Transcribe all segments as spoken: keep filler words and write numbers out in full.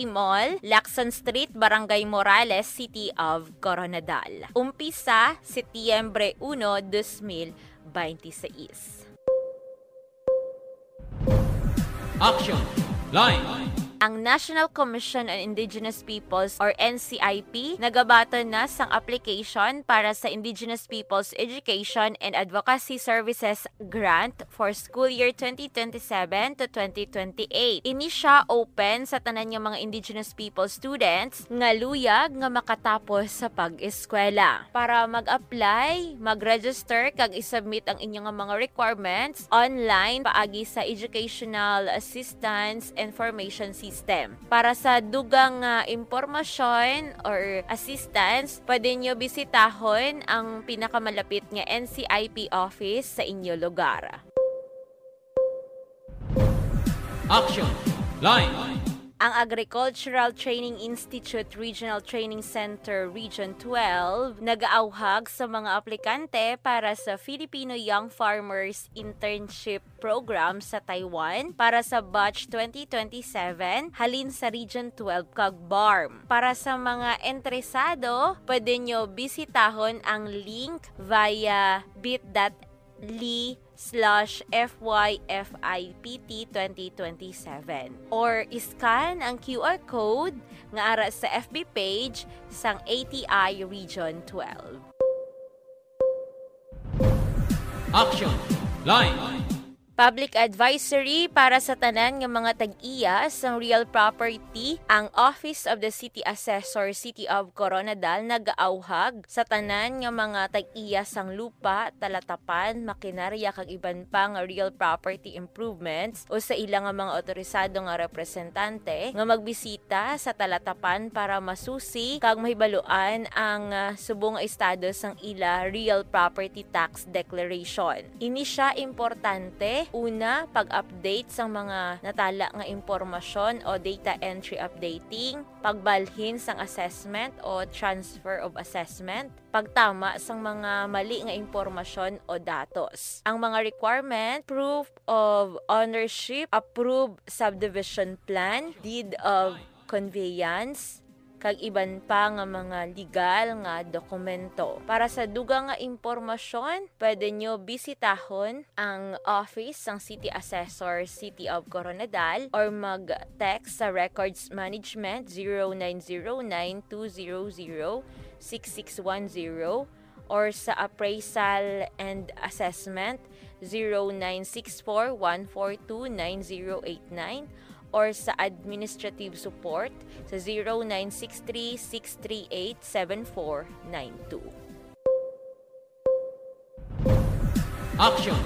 Mall, Lacson Street, Barangay Morales, City of Coronadal. Umpisa, Setyembre uno, dos mil beintiseis. Action Line. Ang National Commission on Indigenous Peoples or N C I P nagabaton na sang application para sa Indigenous Peoples Education and Advocacy Services Grant for school year twenty twenty-seven to twenty twenty-eight. Ini sia open sa tanan nga mga Indigenous People students nga luyag nga makatapos sa pag-eskwela. Para mag-apply, mag-register kag i-submit ang inyo nga mga requirements online paagi sa Educational Assistance Information System. Para sa dugang nga impormasyon or assistance, pwede nyo bisitahon ang pinakamalapit nga N C I P office sa inyo lugar. Action Line. Ang Agricultural Training Institute Regional Training Center Region twelve nagaawhag sa mga aplikante para sa Filipino Young Farmers Internship Program sa Taiwan para sa batch twenty twenty-seven halin sa Region twelve kag BARMM. Para sa mga interesado, pwede nyo bisitahon ang link via bit dot ly slash F Y F I P T twenty twenty-seven or i-scan ang Q R code nga ara sa F B page sang A T I Region twelve. Action Line. Public advisory para sa tanan nga mga tag-iya sang real property, ang Office of the City Assessor, City of Coronadal, nagaawhag sa tanan nga mga tag-iya sang lupa, talatapan, makinarya kag iban pa nga real property improvements o sa ila nga mga otorisado nga representante nga magbisita sa talatapan para masusi kag mahibaluan ang, ah, subong nga estado sang ila real property tax declaration. Ini sia importante, una, pag-update sang mga natala nga impormasyon o data entry updating, pagbalhin sang assessment o transfer of assessment, pagtama sang mga mali nga impormasyon o datos. Ang mga requirement, proof of ownership, approved subdivision plan, deed of conveyance, kag iban pa nga mga legal nga dokumento. Para sa dugang nga impormasyon, pwede nyo bisitahon ang office sang City Assessor, City of Coronadal, or mag-text sa Records Management zero nine zero nine two zero zero six six one zero or sa Appraisal and Assessment zero nine six four one four two nine zero eight nine or sa Administrative Support sa zero nine six three six three eight seven four nine two. Action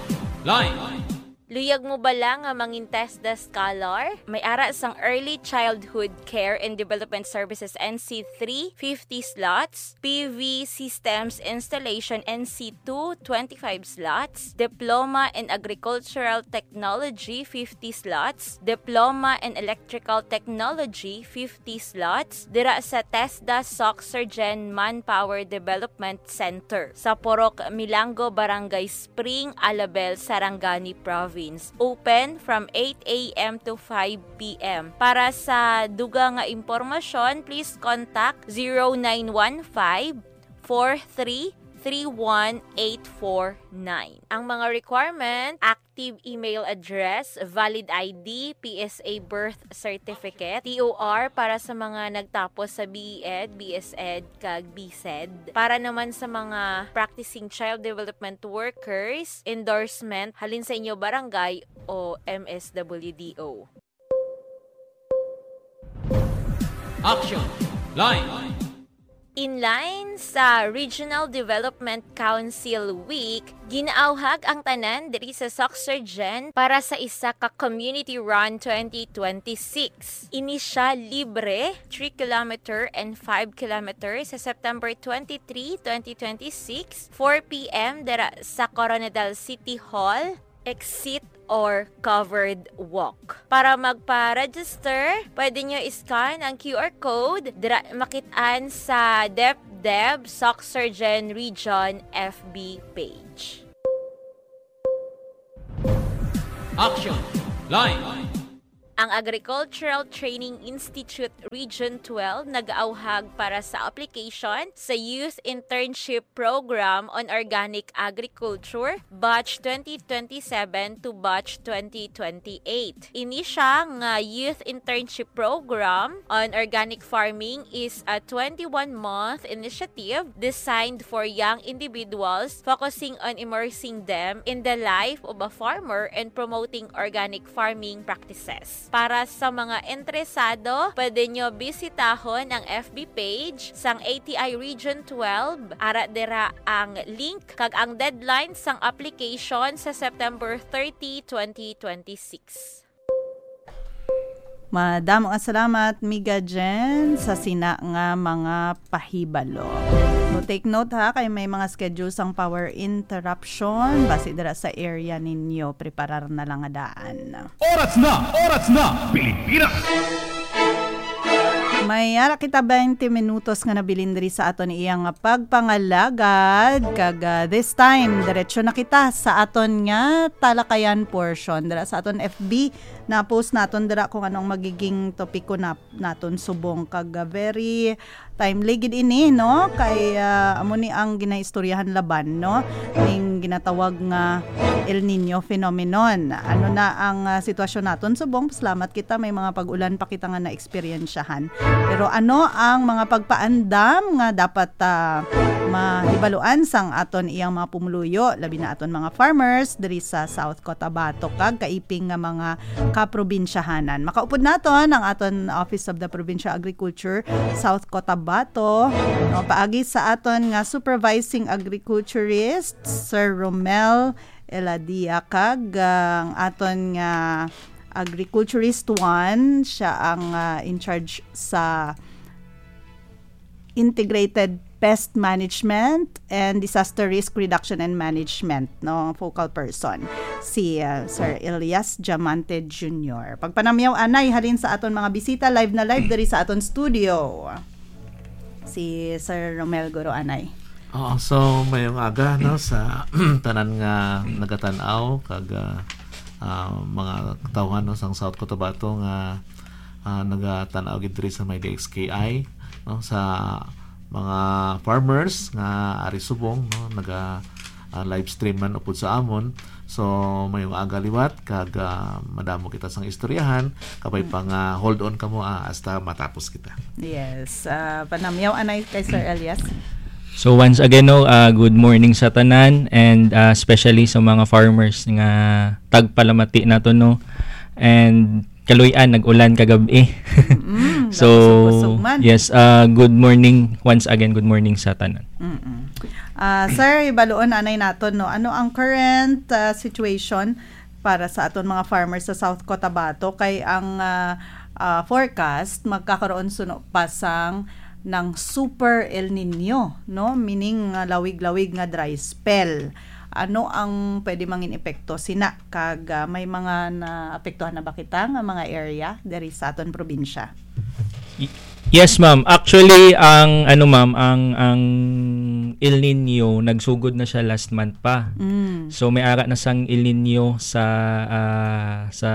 Line. Luyag mo bala nga mangin TESDA Scholar? May ara sang Early Childhood Care and Development Services N C three, fifty slots, P V Systems Installation N C two, twenty-five slots, Diploma in Agricultural Technology, fifty slots, Diploma in Electrical Technology, fifty slots, dira sa TESDA Soxergen Manpower Development Center sa Purok Milango, Barangay Spring, Alabel, Sarangani Province. Open from eight a m to five p m. Para sa dugang nga impormasyon, please contact zero nine one five, four three three one eight four nine. Ang mga requirement, active email address, valid I D, P S A birth certificate, T O R para sa mga nagtapos sa B E Ed, B S Ed, kag B Sed. Para naman sa mga practicing child development workers, endorsement halin sa inyo barangay o M S W D O. Action Line. In line sa Regional Development Council Week, ginaawhag ang tanan diri sa Soxergen para sa isa ka Community Run twenty twenty-six. Ini sia libre, three kilometer and five kilometer sa September twenty-three, twenty twenty-six, four p m dira sa Coronadal City Hall, exit or covered walk. Para magpa-register, pwede nyo i-scan ang Q R code dira makit-an sa DepDev Soxergen Region F B page. Action Line. Ang Agricultural Training Institute Region twelve nag-auhag para sa application sa Youth Internship Program on Organic Agriculture, Batch twenty twenty-seven to Batch twenty twenty-eight. Ini siya nga Youth Internship Program on Organic Farming is a twenty-one-month initiative designed for young individuals, focusing on immersing them in the life of a farmer and promoting organic farming practices. Para sa mga interesado, pwede nyo bisitahon ang F B page sang A T I Region twelve. Ara dira ang link kag ang deadline sang application sa September thirty, twenty twenty-six. Madamo nga salamat, Miga Jen, sa sina nga mga pahibalo. So, take note ha, kay may mga schedule sang power interruption. Basi dira sa area ninyo, preparar na lang nga daan. Oras na! Oras na! Pilipinas! May ara kita twenty minutos nga nabilin diri sa aton iyang pagpangalagad. Kag, ah, this time, diretso na kita sa aton nga talakayan portion. Dira sa aton F B, na-post naton dira kung ano ang magiging topiko na, naton subong. Kag, ah, very timely gid ini, no? Kay, ah, amo ni ang ginaistoryahan laban, no? Ning ginatawag nga El Niño phenomenon. Ano na ang, ah, sitwasyon naton subong? Pasalamat kita, may mga pag-ulan pa kita nga naeksperyensyahan. Pero ano ang mga pagpaandam nga dapat, ah, mahibaluan sang aton iyang mga pumuluyo, labi na aton mga farmers diri sa South Cotabato kag kaiping nga mga kaprobinsyahanan? Makaupod naton ang aton Office of the Provincial Agriculture, South Cotabato, no, paagi sa aton nga supervising agriculturist, Sir Romel Eladia, kag ang aton nga agriculturist one, siya ang, ah, in charge sa Integrated Pest Management and Disaster Risk Reduction and Management, no, focal person, si, ah, Sir Elias Diamante Junior. Pagpanamyaw anay halin sa aton mga bisita, live na live diri sa aton studio. Si Sir Romel guro anay. Oo, so mayong aga, no, sa tanan nga nagatan-aw kag, ah, ah, mga katawhan, no, sang South Cotabato nga, ah, nagatan-aw gid diri sa may D X K I, no, sa mga farmers nga ari subong, no, naga, ah, live stream man upod sa amon. So, mayong aga liwat kag, ah, madamo kita sang istoryahan, kabay pa nga hold on kamo, ah, hasta matapos kita. Yes, ah, panamyaw anay kay Sir Elias. So once again, no, ah, good morning sa tanan and, ah, especially sa mga farmers nga tagpalamati nato, no. And kaluy-an, nag-ulan kagab-i. Mm, so, kusog-kusog man. Yes, ah, good morning once again, good morning sa tanan. Mm-mm. Ah, sir, hibaluon anay naton, no, ano ang current, ah, situation para sa aton mga farmers sa South Cotabato, kay ang, ah, ah, forecast magkakaroon suno pa sang nang super El Nino, no? Meaning, ah, lawig-lawig nga dry spell. Ano ang pwede mangin epekto sina, kag, ah, may mga naapektuhan na ba kita nga mga area diri sa aton probinsya? Y-, yes, ma'am. Actually, ang, ano, ma'am, ang, ang El Nino, nagsugod na siya last month pa. Mm. So, may ara na sang El Nino sa, ah, sa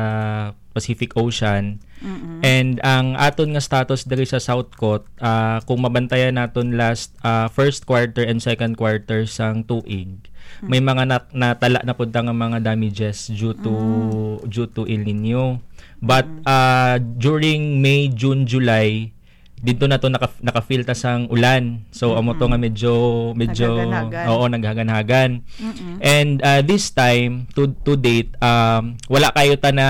Pacific Ocean. Mm-mm. And ang aton nga status diri sa South Cot, ah, kung mabantayan naton last, ah, first quarter and second quarter sang tuig, Mm. may mga nat-, natala na pud ta nga mga damages due to, Mm. due to El Nino. But, Mm. ah, during May, June, July, dito na to naka-, naka-feel ta sang ulan. So, amo to Mm-mm. nga medyo, medyo, Naghaganhagan. Oo, naghaganhagan. Mm-mm. And, ah, this time, to, to date, um, wala kayo ta na,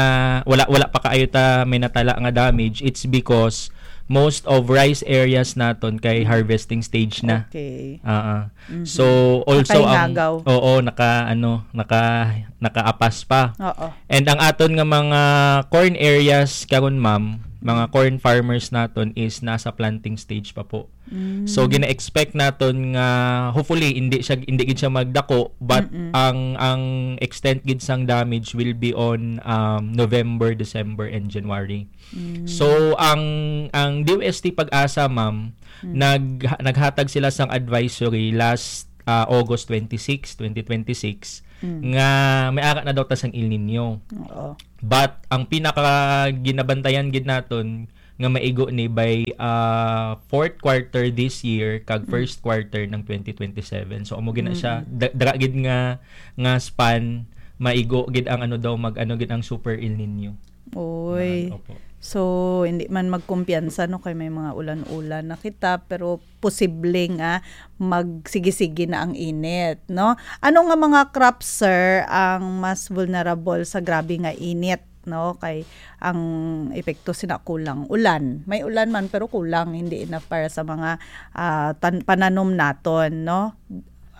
wala, wala pa kayo ta may natala nga damage. It's because most of rice areas naton kay Mm. harvesting stage na. Okay. Ah, ah. Mhm. So, also ang, Nakaingagaw. Oo, naka, ano, naka, nakaapas pa. Oo. And ang aton nga mga corn areas karon, ma'am, mga Mm. corn farmers naton is nasa planting stage pa po. Mm. So, gina-expect naton nga, hopefully, hindi siya, hindi gid siya magdako, but Mm-mm. ang, ang extent gid sang damage will be on, um, November, December, and January. Mm. So, ang, ang D O S T PAGASA, ma'am, Mm. nag-, naghatag sila sang advisory last, ah, August twenty-six, twenty twenty-six, nga may ara na daw ta sang El Nino. Oo. But ang pinaka ginabantayan gid naton nga maigo ni by, ah, fourth quarter this year kag first quarter ng twenty twenty-seven. So amo gid na siya. Da- dara gid nga nga span, maigo gid ang ano daw, mag-ano gid ang super El Nino. Oy. Opo. So, hindi man magkumpiyansa, no, kay may mga ulan-ulan na kita, pero posible nga magsige-sige na ang init, no? Ano nga mga crops, sir, ang mas vulnerable sa grabe nga init, no? Kay ang epekto sina kulang ulan. May ulan man, pero kulang, hindi enough para sa mga, ah, tan- pananom naton, no?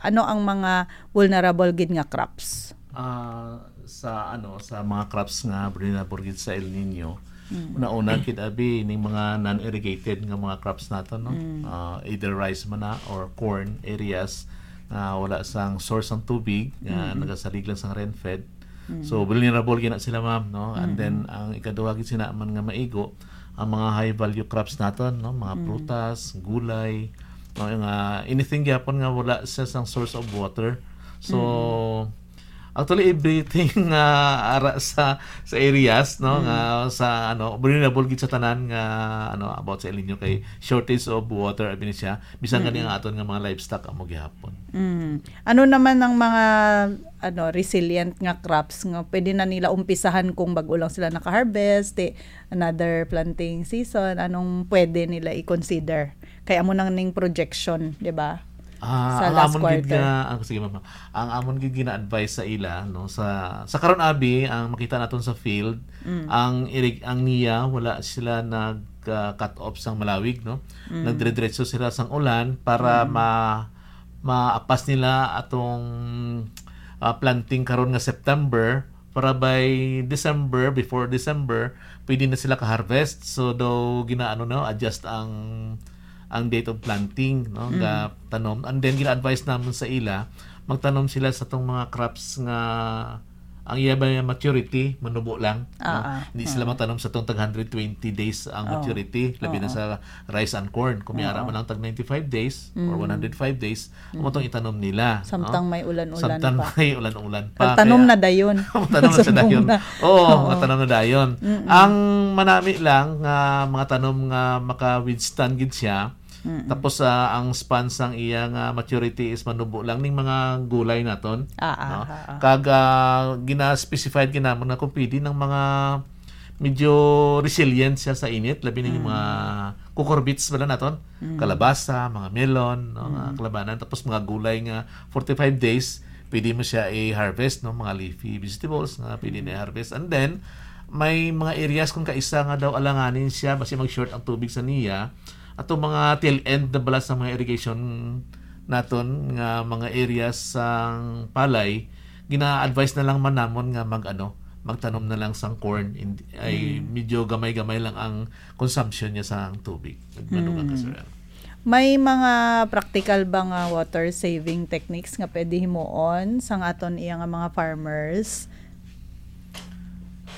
Ano ang mga vulnerable gid nga crops? Ah, sa ano, sa mga crops nga vulnerable gid sa El Nino, una-una gid abi ning mga non-irrigated nga mga crops nato, no? Ah, either rice man na or corn areas nga wala sang source ang tubig, nga nagasalig lang sang rain fed. So vulnerable gina sila, ma'am, no? And then ang ikaduha gid sina man nga maigo ang mga high value crops naton, no? Mga prutas, gulay, no? Nga anything gyapon nga wala siya sang source of water. So actually, everything nga ara sa sa areas, no, nga sa ano, vulnerable gid sa tanan nga ano, about sa El Nino, kay shortage of water abi ni siya, bisan gani ang aton nga mga livestock amo gihapon. Mm. Ano naman ang mga ano, resilient nga crops nga pwede na nila umpisahan kung bag-o lang sila naka-harvest, di, another planting season, anong pwede nila i-consider? Kay amo nang ning projection, di ba? Ah, Sa ang last amon gid quarter. Nga, ang, sige, ma'am. Ang amon gid gina-advise sa ila, no, sa sa karon abi ang makita naton sa field, ang irig ang niya wala sila nag ah, cut off sang malawig, no. Nagdire-diretso sila sang ulan para ma maapas nila atong ah, planting karon nga September, para by December, before December, pwede na sila ka-harvest. So daw ginaano, no, adjust ang ang date of planting, no, nga tanom. And then gina-advise naman sa ila, magtanom sila sa tong mga crops nga ang iya ba nga maturity manubo lang, no? Ah, ah. Hindi sila magtanom sa tong tag one hundred twenty days ang maturity, labi na sa rice and corn. Kung may ara man lang tag ninety-five days or one hundred five days, amo tong itanom nila, no? Samtang may ulan-ulan Samtang pa. May ulan-ulan pa. Kag tanom Kaya, na dayon. Tanom na sa Sa dayon. Bunga. Oo, Oo. Tanom na dayon. Mm-mm. Ang manami lang nga mga tanom nga maka-withstand gid siya, tapos, ah, ang span sang iya nga maturity is manubo lang ning mga gulay naton, Ah, ah, no? Ah, ah. Kag, ah, gina-specified ginamon nga kung pwede ng mga medyo resilient siya sa init, labi na yung mga cucurbits bala naton, kalabasa, mga melon, no, mga kalabanan, tapos mga gulay nga forty-five days, pwede mo siya i-harvest, no, mga leafy vegetables nga pwede na i-harvest. And then, may mga areas kung kaisa nga daw alanganin siya, basi mag-short ang tubig sa niya, ato mga tail end na bala sa mga irrigation naton nga mga areas sang palay, gina-advise na lang man namon nga mag, ano, magtanom na lang sang corn. Hindi, ay medyo gamay-gamay lang ang consumption niya sa tubig. Madugang ka, Sir Al. May mga practical ba nga water saving techniques nga pwede himuon sang aton iya nga mga farmers?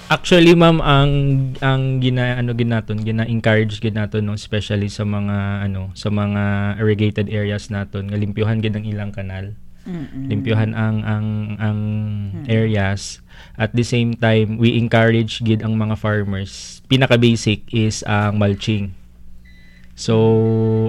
Actually, ma'am, ang, ang gina-, ano gid naton, gina-encourage gid naton, no, especially sa mga, ano, sa mga irrigated areas naton, nga limpyuhan gid ang ilang kanal. Mm-mm. Limpyuhan ang, ang, ang Mm. areas. At the same time, we encourage gid ang mga farmers. Pinaka-basic is ang mulching. So,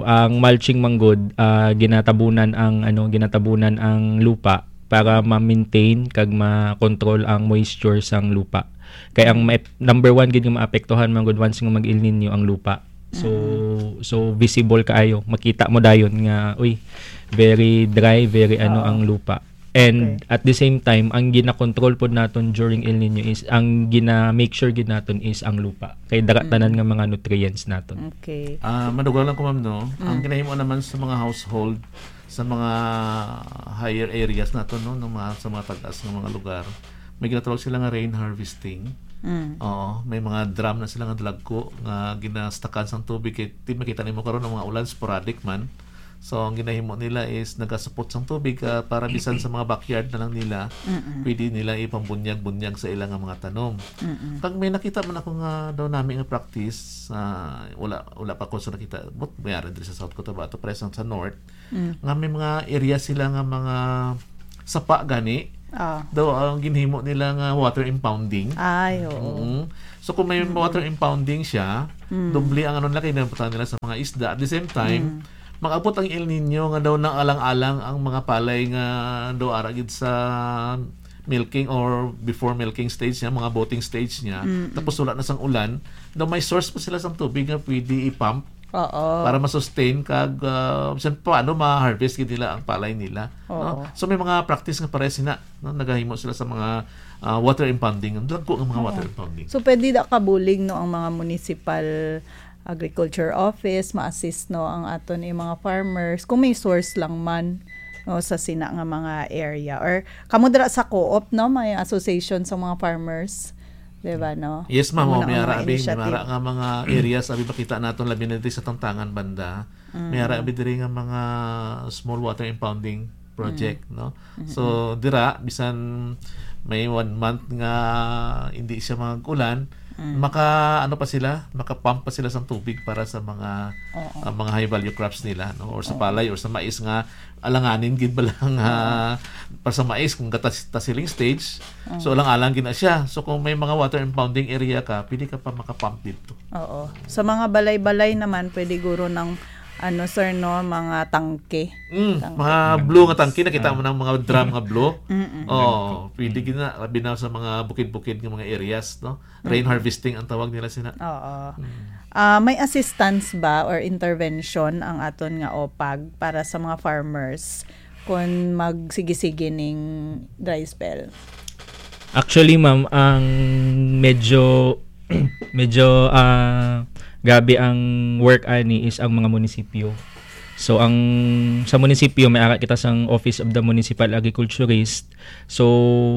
ang mulching man gud, ah, ginatabunan ang, ano, ginatabunan ang lupa para ma-maintain kag ma-control ang moisture sang lupa. Kay ang ma-, number one gid nga maapektuhan man gud once nga mag-El Nino ang lupa. So, Mm. so visible kaayo, makita mo dayon nga, uy, very dry, very ano Oo. ang lupa. And Okay. at the same time, ang gina-control pod naton during El Nino is, ang gina-make sure gid naton is ang lupa. Kay dara Mm. tanan nga mga nutrients naton. Okay. Ah, madugang lang ko, ma'am, no? Ang Mm. ginahimo naman sa mga household, sa mga higher areas naton, no, ng mga, sa mga tagas nga mga lugar, may ginatawag sila nga rain harvesting. Mm. Oo, may mga drum na sila nga dalagko nga ginastakan sang tubig kay di makita nimo karon ang mga ulan sporadic man. So, ang ginahimo nila is nagasupot sang tubig, ah, para bisan sa mga backyard na lang nila, Mm-mm. pwede nila ipambunyag-bunyag sa ilang mga tanom. Mm-mm. Kag may nakita man ako nga daw nami nga practice, ah, wala, wala pa ko sa nakita, but may ari diri sa South Cotabato, present sa North, Mm. nga may mga area sila nga mga sapa gani, Ah. Daw ang ginhimo nila nga water impounding. Ay, oo. Mm. So kung may water impounding siya, Mm. doble ang ano nila, kay nabutang nila sa mga isda. At the same time, Mm. mag-abot ang El Nino nga daw naalang-alang ang mga palay nga daw ara gid sa milking or before milking stage niya, mga boating stage niya. Mm-mm. Tapos wala na sang ulan, daw may source pa sila sang tubig nga pwede i-pump Oo. para ma-sustain kag ah, bisan paano ma-harvest gid nila ang palay nila, Oo. no? So may mga practice nga pares na, no? Nagahimo sila sa mga ah, water impounding, dagko nga mga Oo. Water impounding. So pwede da kabulig, no, ang mga municipal agriculture office, ma-assist, no, ang aton, eh, mga farmers kung may source lang man, no, sa sina nga mga area, or kamo dira sa co-op, no, may association sa mga farmers, di ba, no? Yes, ma'am. Amo Oh, na may ang ara mga abi, may initiative. ara nga mga areas abi makita naton labi na diri sa Tantangan banda. Mm. May ara abi diri nga mga small water impounding project, Mm. no? Mm-mm. So dira bisan may one month nga hindi siya mag-ulan, Mm. maka ano pa sila, maka-pump pa sila sang tubig para sa mga Oo. ah, mga high value crops nila, no? Or sa Oo. Palay or sa mais nga alanganin gid ba lang ah, para sa mais kung gata ta siling stage. So alang-alang gid na siya. So kung may mga water impounding area ka, pwede ka pa maka-pump dito. Oo. Sa mga balay-balay naman, pwede guro ng, ano, sir, no, mga tangke. Mm, Tangke. mga blue nga tangke, nakita mo ng mga drum nga blue. Mm-mm. Oh, pwede gid na, labi na sa mga bukid-bukid nga mga areas, no? Rain Mm. harvesting ang tawag nila sina. Oo. Mm. Ah, may assistance ba or intervention ang aton nga OPAG para sa mga farmers kung magsigi-sige ning dry spell? Actually, ma'am, ang medyo medyo ah, grabe ang work ani is ang mga munisipyo. So ang sa munisipyo may ara kita sang Office of the Municipal Agriculturist. So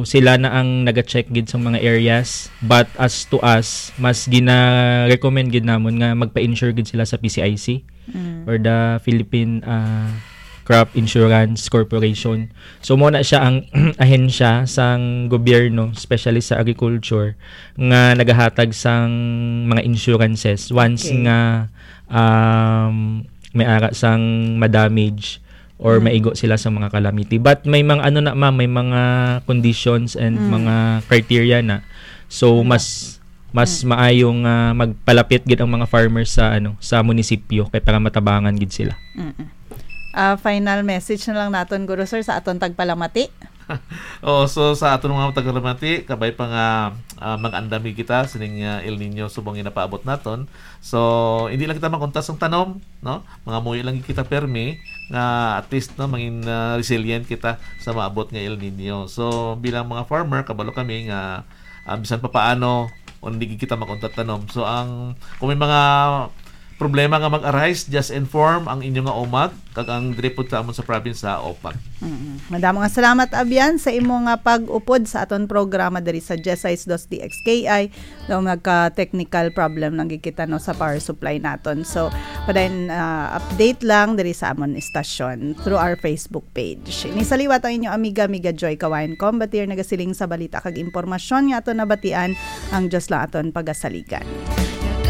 sila na ang naga-check gid sa mga areas, but as to us, mas gina-recommend gid namon nga magpa-insure gid sila sa P C I C Mm. or the Philippine ah, Crop Insurance Corporation. So mo na siya ang ahensya sang gobyerno, especially sa agriculture, nga nagahatag sang mga insurances once Okay. nga um, may ara sang madamage or Mm. maigo sila sa mga calamity. But may mga ano na, ma'am, may mga conditions and Mm. mga criteria na. So Mm. mas mas Mm. maayong ah, magpalapit gid ang mga farmers sa ano sa munisipyo kay para matabangan gid sila. Mm-mm. Ah, final message na lang naton, guro, sir, sa aton tagpalamati. Oh, so sa aton mga tagalamati, kabay pa nga ah, mag-andam gid kita sining ah, El Nino subong nga napaabot naton. So hindi lang kita makuntas ang tanom, no? Mga muyo lang gid kita permi nga at least, no, mangin ah, resilient kita sa maabot nga El Nino. So bilang mga farmer, kabalo kami nga ah, bisan pa paano, hindi gid kita makuntat tanom. So ang kung may mga problema nga mag-arise, just inform ang inyo nga OMAG kag ang diri pod sa amon sa province sa OPAG. Mm. Madamo nga salamat, Abian, sa imo nga pag-upod sa aton programa diri sa Jesais Dos D X K I. Daw nagka-technical problem lang gid kita, no, sa power supply naton. So, padayon, ah, update lang diri sa amon istasyon through our Facebook page. Ini sa liwat ang inyo amiga, amiga Joy Kawayan Combatir, nagasiling sa balita kag impormasyon nga aton nabatian, ang Dios lang aton pagasaligan.